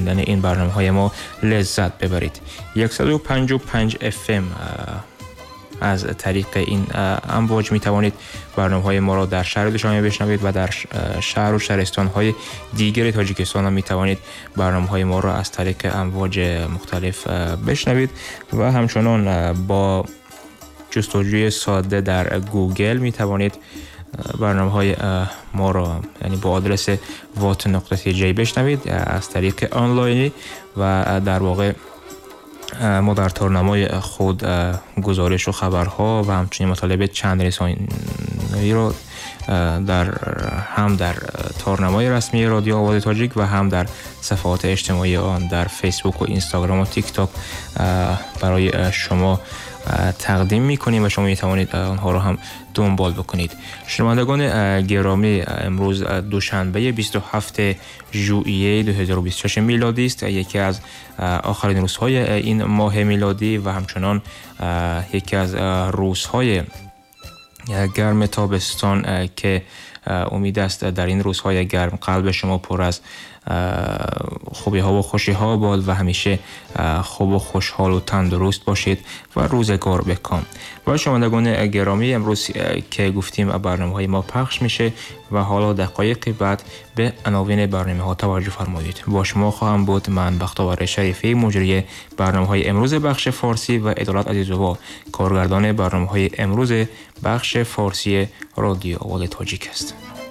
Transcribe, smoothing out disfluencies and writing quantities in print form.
شنیدن این برنامه‌های ما لذت ببرید. 155 FM از طریق این امواج می توانید برنامه‌های ما را در شهر دوشنبه بشنوید و در شهر و شهرستان‌های دیگر تاجیکستان هم می توانید برنامه‌های ما را از طریق امواج مختلف بشنوید و همچنان با جستجوی ساده در گوگل می توانید برنامه‌های ما را، یعنی با آدرس wat.tj بشنوید از طریق آنلاینی و در واقع ما در تارنمای خود گزارش و خبرها و همچنین مطالب چند رسانه‌ای رو هم در تارنمای رسمی رادیو آواز تاجیک و هم در صفحات اجتماعی آن در فیسبوک و اینستاگرام و تیک تاک برای شما تقدیم می‌کنیم و شما می‌توانید آنها رو هم دنبال بکنید. شنوندگان گرامی، امروز دوشنبه 27 ژوئیه 2026 میلادی است، یکی از آخرین روزهای این ماه میلادی و همچنان یکی از روزهای گرم تابستان که امید است در این روزهای گرم قلب شما پر از خوبی ها و خوشی ها باد و همیشه خوب و خوشحال و تندرست باشید و روزگار بکام. و شنوندگان گرامی، امروز که گفتیم برنامه های ما پخش میشه و حالا دقایق بعد به عناوین برنامه ها توجه فرمایید. با شما خواهم بود من بختاور شریفی، مجری برنامه های امروز بخش فارسی، و عدالت عزیزووا، کارگردان برنامه های امروز بخش فارسی رادیو آواز تاجیک است.